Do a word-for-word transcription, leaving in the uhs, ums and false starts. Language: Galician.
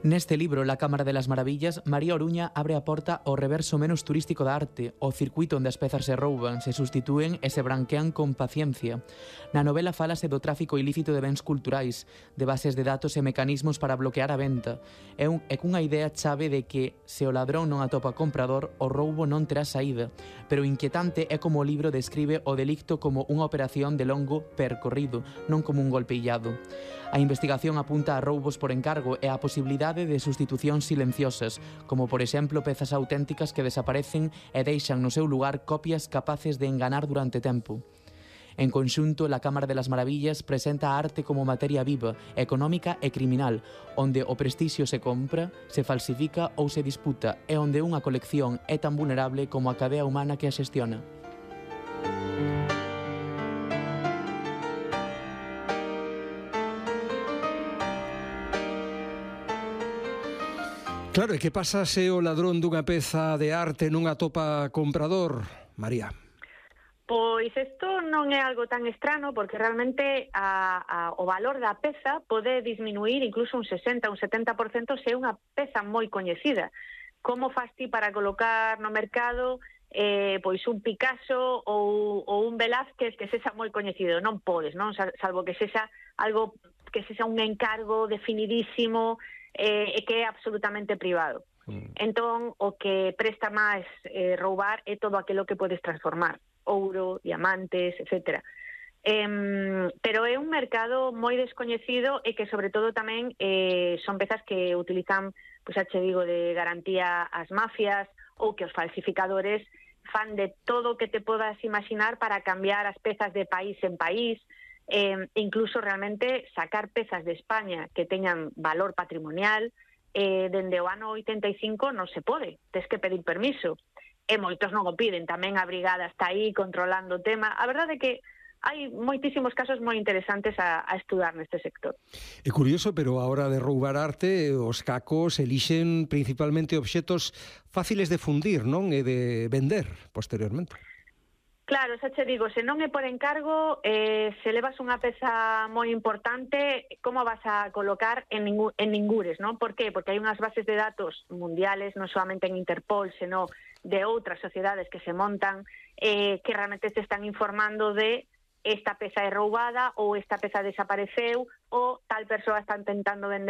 Neste libro, La Cámara de las Maravillas, María Oruña abre a porta ao reverso menos turístico da arte, o circuito onde as pezas se rouban, se sustitúen e se branquean con paciencia. Na novela fálase do tráfico ilícito de bens culturais, de bases de datos e mecanismos para bloquear a venta, e, un, e cunha idea chave de que, se o ladrón non atopa comprador, o roubo non terá saída, pero o inquietante é como o libro describe o delicto como unha operación de longo percorrido, non como un golpe illado. A investigación apunta a roubos por encargo e a posibilidade de sustitucións silenciosas, como por exemplo pezas auténticas que desaparecen e deixan no seu lugar copias capaces de enganar durante tempo. En conxunto, La Cámara de las Maravillas presenta a arte como materia viva, económica e criminal, onde o prestixio se compra, se falsifica ou se disputa, e onde unha colección é tan vulnerable como a cadea humana que a xestiona. Claro, e que pasa se o ladrón dunha peza de arte non atopa comprador, María? Pois isto non é algo tan estrano, porque realmente a, a, o valor da peza pode disminuir incluso un sesenta, un setenta por cento se é unha peza moi coñecida. Como faz ti para colocar no mercado eh, pois un Picasso ou, ou un Velázquez que sexa moi coñecido? Non podes, non? Salvo que sexa algo que sexa un encargo definidísimo e eh, que é absolutamente privado. Mm. Entón, o que presta máis eh, roubar é todo aquilo que podes transformar. Ouro, diamantes, etcétera. Eh, pero é un mercado moi descoñecido e que, sobre todo, tamén eh, son pezas que utilizan, pois, xa che digo, de garantía as mafias ou que os falsificadores fan de todo o que te podas imaginar para cambiar as pezas de país en país, eh, incluso realmente sacar pezas de España que teñan valor patrimonial, eh, dende o ano oitenta e cinco non se pode, tes que pedir permiso. E moitos non o piden, tamén a brigada está aí controlando o tema. A verdade é que hai moitísimos casos moi interesantes a, a estudar neste sector. É curioso, pero a hora de roubar arte, os cacos elixen principalmente obxetos fáciles de fundir, non? E de vender posteriormente. Claro, xa che digo, se non é por encargo, eh, se levas unha peza moi importante, como vas a colocar en, ningú, en ningures, non? Por qué? Porque hai unhas bases de datos mundiales, non solamente en Interpol, senón de outras sociedades que se montan, eh, que realmente te están informando de esta peza é roubada ou esta peza desapareceu ou tal persoa está intentando vender